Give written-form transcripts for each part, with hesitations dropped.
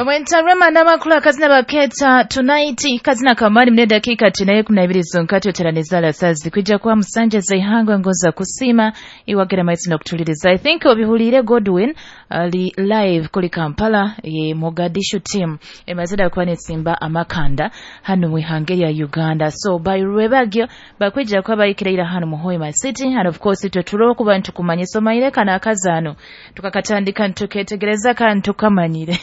Bamwenta Rema n'amakulu akazina baketa tonight kazina kamani mune dakika tinaye 12 zonkati oteraneza sazi kwijja kuba musanje zaihangwe ngoza kusima iwagera maitsi n'okutuliriza. I think obihulire Godwin ali live kuli Kampala ye Mogadishu team emazida kuba netsimba amakanda hano mu ihange ya Uganda. So by rwebagyo bakwijja kuba bayikirira hano mu Hoima City, and of course itwe turoho kuba ntukumanye somaire kana akazano tukakatandika ntuketegereza kandi tukamanyire.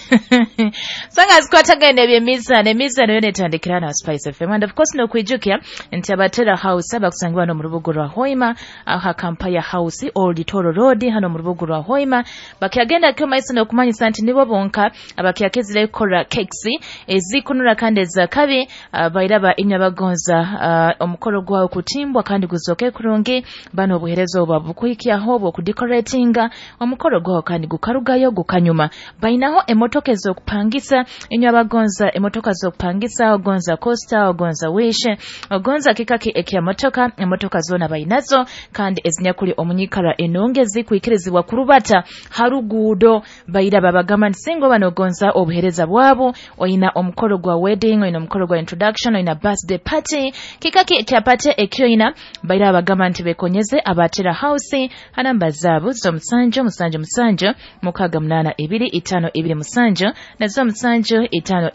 Sanga zikwatagana ebyemizano emizano yone etandikira na Spice FM, and of course nokwijukya nti abatera house abakusangibwa no mu rubugo rwa Hoima aha Kampaya House Old Toro Road hano mu rubugo rwa Hoima bakyagenda kyo maiso nokumanyisa nti nibo bonka abakyakizire kora cakes ezikunura kandi ezakabi bairaba inywa bagonza omukoro gwawo kutimbwa kandi guzoke kurungi bano obuherezo obwa bukuhikyaho obwo kudecoratinga omukoro gwawo kandi gukarugayo gukanyuma. Bainaho emotoka ez'okupangisa inywa bagonza emotoka z'okupangisa ogonza Costa ogonza Wish ogonza kikaki ekya motoka emotoka zona bainazo kandi ezinyakuli omunyikara enongezi kuikirizibwa kurubata harugudo baira babagamba nsingo banogonza obuhereza bwabo oina omukoro gwa wedding oina omukoro gwa introduction oina birthday party kikaki ekya party ekyoina baira babagamba nti bekonyeze abatera house hanamba zabo zo 7 7 7 6 8 2 5 2 7 na zo 7 5 2 8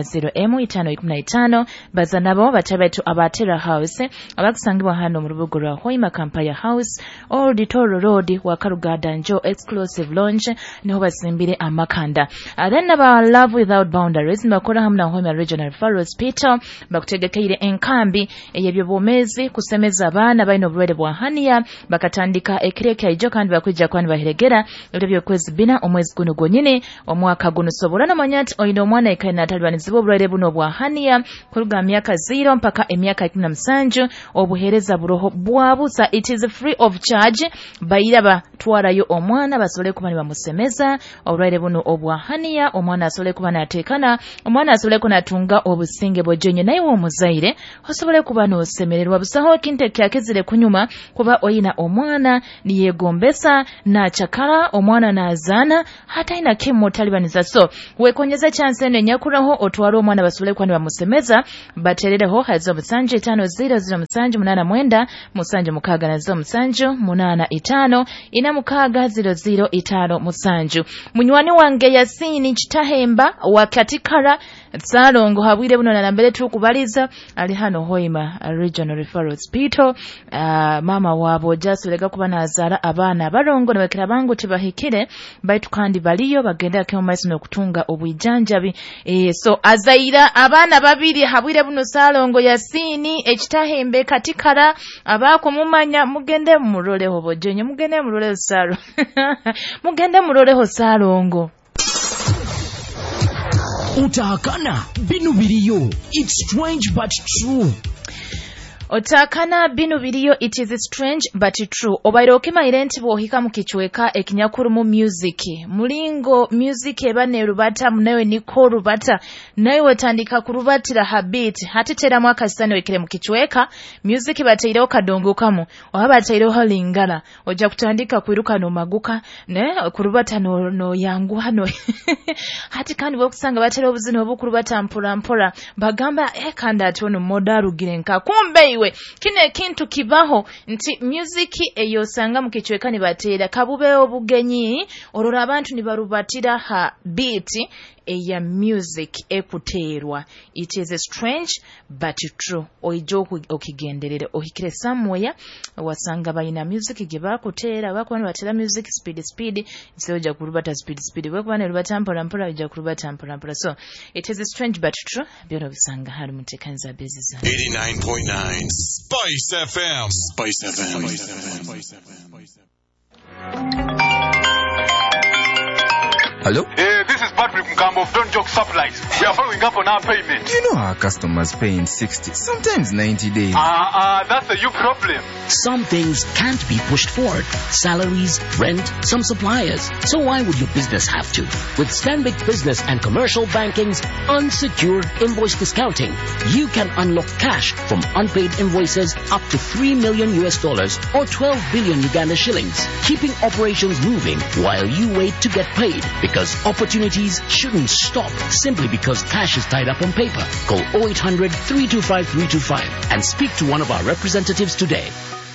0 m 5 15 baza nabo batabetu abatera house abakusangibwa hano mu rubugo rwa Hoima Kampaya House Old Toro Road wa Karugada Njo Exclusive Lounge niho basimbire amakanda. Then aba Love Without Boundaries bakora hamwe na Hoima Regional Referral Hospital bakutegekeire enkambi ey'ebyobwomezi kusemeza abaana balina obulwaire bwa hania bakatandika ekireka ijo kandi bakwijja kwani bahiregera ebyo by'okwezi bina omwezi guno gwonyine omwaka guno sobola nomanya nti oyina omwana ekaina atalibaniziibwa obulwaire buno bwa hania kuruga myaka 0 mpaka emyaka 17 obuhereza buroho bwabusa. It is free of charge. Baira batwarayo omwana basobole kuba nibamusemeza obulwaire buno obwa hania omwana asobole kuba natekana omwana asobole kunatunga obusinge bwojonye naye omuzaire osobole kuba nosemererwa busaho ekintu ekyakezire kunyuma kuba oyina omwana niyegombesa nachakala omwana nazana hata ina kemo talibaniza. So wekonyeza chance eno enyakuraho otwara omwana basobole kuba nibamusemeza baterereho hazo 7 5 0 0 7 8 9 7 6 na zo 7 8 5 4 6 0 0 5 7. Munywani wange Yasini Kitahemba wa Katikara Tsalongo habwire buno na mbere tukubaliza ali hano Hoima Regional Referral Hospital. Mama wabo jasolega kuba nazara abaana barongo nabakira bangu tibahikire baitu kandi baliyo bagenda kemo maiso nokutunga obwijanjabi. So azaira abaana babiri habwire buno Salongo Yasini Ekitahembe Katikara abakumumanya mugende muroleho bojonye mugende muroleho Salo mugende muroleho Salongo. Utakana binu biriyo. It's strange but true. Otakana binu biriyo, it is strange but true. Obaire okimaire nti bwohika mu kichweka ekinyakuru mu music. Mulingo music eba nerubata munawe niko rubata. Nawe wetandika kurubatira habit. Hati tera mwaka sani wekere mu kichweka. Music bataireho kadongo kamu. Oba bataireho lingala. Oja kutandika kwiruka no maguka. Ne kurubata no yanguha no. Hati kandi bwokusanga bataireho obuzina obukurubata mpora mpora. Bagamba kandi ati ono modarugire nka. Kumbe iwe kino ekintu kibaho nti music eyosanga mu kichweka nibatera kabube obugenyi orora abantu nibarubatira ha beat eya music ekuterwa. It is strange but true. Oijo okigenderere ohikire somewhere wasanga bayina music ge bakutera bakuba nibatera music speed speed isoja kurubata speed speed bakuba nirubata mpora mpora ija kurubata mpora mpora. So it is strange but true byona bisanga hari mutekanza biziza. 89.9 Spice FM. Spice FM. Spice FM. Hello? Hey, this is Patrick Mkambo of Don't Joke Supplies. We are following up on our payment. You know our customers pay in 60, sometimes 90 days. That's a you problem. Some things can't be pushed forward. Salaries, rent, some suppliers. So why would your business have to? With Stanbic Business and Commercial Banking's unsecured invoice discounting, you can unlock cash from unpaid invoices up to $3 million or 12 billion Uganda shillings, keeping operations moving while you wait to get paid, because opportunity activities shouldn't stop simply because cash is tied up on paper. Call 0800 325 325 and speak to one of our representatives today.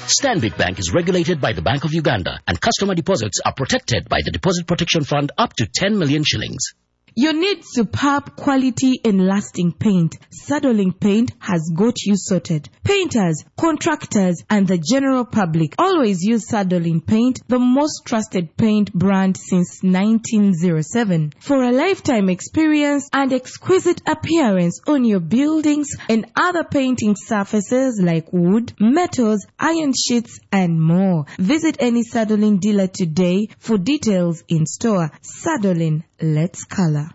Stanbic Bank is regulated by the Bank of Uganda and customer deposits are protected by the Deposit Protection Fund up to 10 million shillings. You need superb quality and lasting paint. Sadolin Paint has got you sorted. Painters, contractors, and the general public always use Sadolin Paint, the most trusted paint brand since 1907. For a lifetime experience and exquisite appearance on your buildings and other painting surfaces like wood, metals, iron sheets, and more. Visit any Sadolin dealer today for details in store. Sadolin, let's color.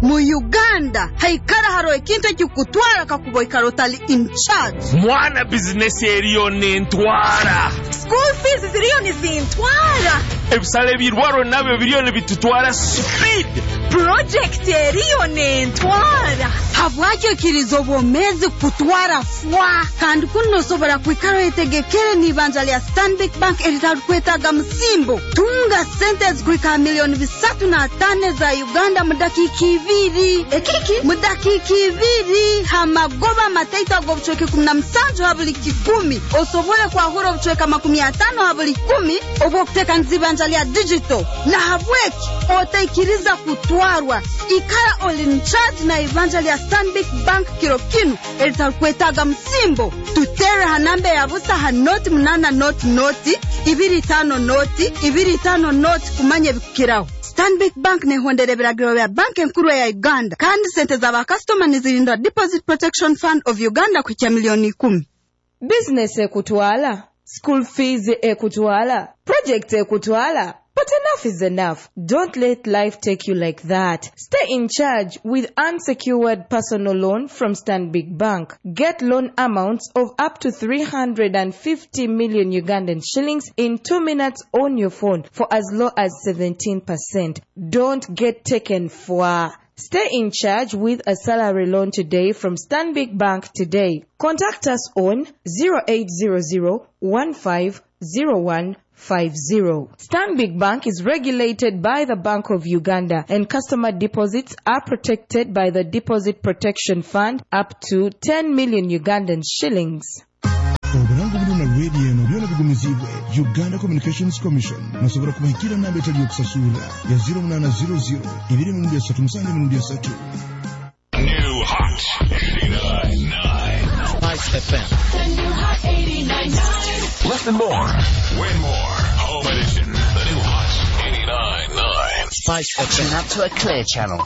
Mu Uganda haikara haro ekintu ekikutwara kakuba oikara otali in charge. Mwana bizinesi eriyo nentwara. School fees ziriyo nizintwara. Ebisale ebirwaro nabyo biriyo nibitutwara speed. Project eriyo nentwara. Habwaki okiriza obwomezi kutwara fwa? Kandi kuno nosobora kwikara oyetegekere n'ibanja lya Stanbic Bank eritarukwetaaga musimbo. Tunga sente ezikuhika 305 million za Uganda mu dakiika 2. Ekiki? Mu dakiika 2 hamagoba mataito ag'obucweka 17 ha buli 100. Osobole kwahura obucweka 50 ha buli 10 obw'okuteekaniza ibanja lya digital. Na habweki otaikiriza kutwarwa. Ikara oli in charge na ibanja lya Stanbic Bank kiro kinu eritarukwetaaga musimbo. Tutere ha namba ya busa ha 0 8 0 0 2 5 0 2 5 0 kumanya ebikukiraho. Stanbic Bank nehondera ebiragiro bya banki enkuru ya Uganda kandi sente z'abakasitoma nizirindwa Deposit Protection Fund of Uganda kuhikya 10 million. Business ekutwala, school fees ekutwala, project ekutwala. But enough is enough. Don't let life take you like that. Stay in charge with unsecured personal loan from Stanbic Bank. Get loan amounts of up to 350 million Ugandan shillings in 2 minutes on your phone for as low as 17%. Don't get taken for. Stay in charge with a salary loan today from Stanbic Bank today. Contact us on 0800 1501 50. Stanbic Bank is regulated by the Bank of Uganda and customer deposits are protected by the Deposit Protection Fund up to 10 million Ugandan shillings. Obulango buli na radio eno byona bigumizibwe Uganda Communications Commission. Nosobola kubahikira namba etali yokusasulira ya 0800 2 3 7 3. New Hot 89.9. Spice FM. Listen more. Win more. Home edition. The new Hot 89.9. Spice FM. Tune up to a clear channel.